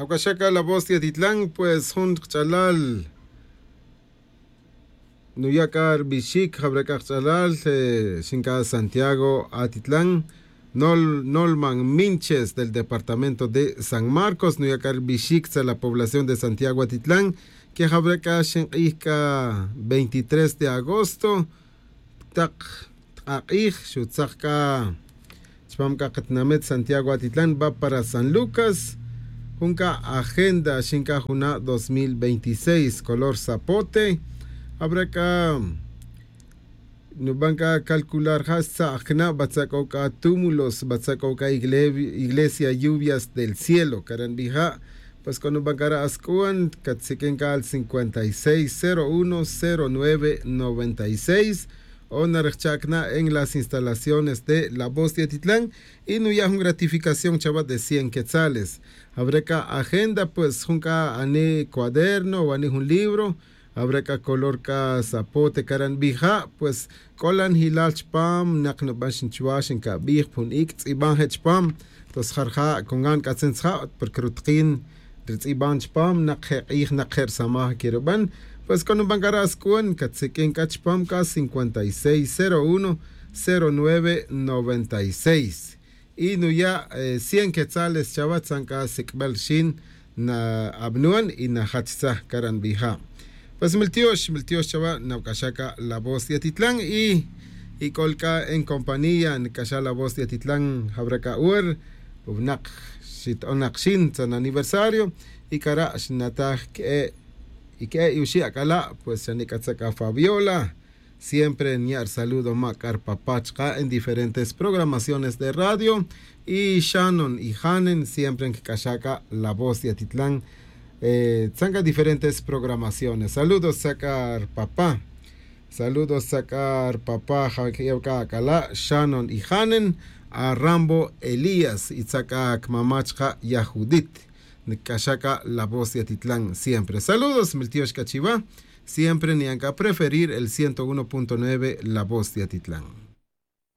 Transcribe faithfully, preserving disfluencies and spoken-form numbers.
Ocaxaca la voz de atitlan pues jun kach'alal nuya' c'a ri bixic jawre c'a kach'alal, xin c'a santiago atitlan, nolman minches del departamento de san marcos nuya' c'a ri bixic tza la población de santiago atitlan, que jawre c'a xink'ij c'a veintitrés de agosto tak t'ak'ij xutzak c'a chupam c'a katinamit santiago atitlan va para san lucas, jun c'a agenda xin c'a juna' dos mil veintiséis color zapote. Jawre c'a nuban c'a calcular ja' xtza'ak cana' batza c'o c'a túmulos batza c'o c'a iglesia lluvias del cielo caranbija'. Pues c'o nuban c'a ra' asc'uan catsiq'uin c'a al cincuenta y seis cero uno cero nueve noventa y seis. O narejcha' cana' en las instalaciones de la voz de atitlan y nuya' jun gratificación chawa de cien quetzales. Jawre c'a agenda pues jun c'a ani cuaderno o ani jun libro, jawre c'a color c'a zapote caranbija'. Pues c'o la njilal chupam nak nuban xin chuwa' xincabij pa jun ic' tz'iban je' chupam. Tos jarja' con gan c'atzin tzija' porque rutakin ri tz'iban chupam nak je' k'ij nak je' risamaj que ruban. Pues c'o nuban c'a ra' asc'uan catsiq'uin c'a chupam c'a cincuenta y seis cero uno cero nueve noventa y seis. Y nuya' cien quetzales chawa tzan c'a sic'bel rixin na abnuan y najach tzaj caranbija'. Pues miltiox miltiox chawa nawac'axa c'a la voz de atitlan y y c'ol c'a en compañía nic'axa la voz de atitlan jawre c'a wer winak xito'on nak xin tzan aniversario y c'a ra' xinataj que'e' y que'e' y uxi' ac'ala' pues xa nic'atza c'a fabiola. Siempre niya' ri saludo ma' c'a ri papá chaka' en diferentes programaciones de radio y xanon y janen siempre ncac'axa' c'a la voz de atitlan. Tzan c'a diferentes programaciones saludos tza c'a ri papá. Saludos tza c'a ri papá jaquiyew c'a ac'ala' xanon y janen, arambo elías y tza c'a cmamá chaka' ya judit. Ncac'axa' c'a la voz de atitlan siempre saludos miltiox c'a chiwa. Siempre niyan c'a preferir el ciento uno punto nueve la voz de atitlan.